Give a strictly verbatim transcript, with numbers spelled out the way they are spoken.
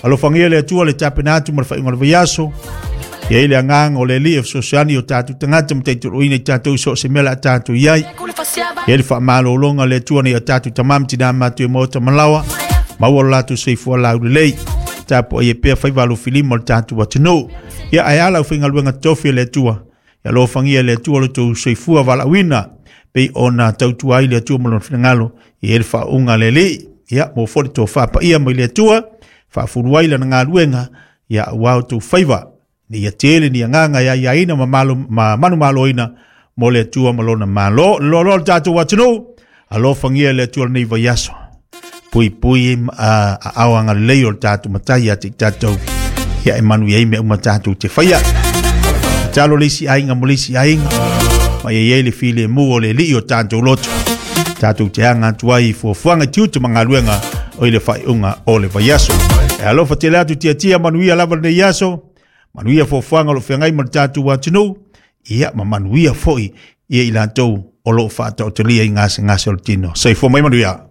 Alofagia le Atua le tapena atu ma le faaiuga o le vaiaso. Ia i le agaga o le Alii e fesoasoani o tatou tagata ma taitoloina i tatou so o se mea la tatou i ai. Ia le faamalologa le Atua nei o tatou tama ma tina matu e maota malawa. Maua lo latou soifua laulelei. Tapuai e pea faiva alofilima o le tatou atunuu. Ia ae ala au faigaluega totofi e le Atua. Ia alofagia le Atua lo outou soifua valaauina. Pei ona tautua ai le Atua ma lona finagalo i ai le faauuga a le Alii. Ia mo foi le tofa paia mai le Atua. Faafulu ai lana galuega. Ia aua outou faiva. Ni ia tele ni agaga e aiaina ma malo ma manumaloina mo le Atua ma lona malo. Loaloa le tatou atunuu. Alofagia le Atua lenei vaiaso. Puipui a ao agalelei o le tatou matai ia te i tatou. Ia e manuia ai mea uma tatou te faia. Tatalo le isi aiga mo le isi aiga. Ma ia i ai le filemu o le Alii o tatou loto. Tatou te aga atu ai i fuafuaga i tiute ma galuega o i le faaiuga o le vaiaso. E alofa tele atu tiatia manuia lava lenei aso. Manuia fuafuaga o lo o feagai ma le tatou atunuu. Ia ma manuia foi ia i latou o lo o faataotolia i gasegase o le tino. Soifua mai manuia.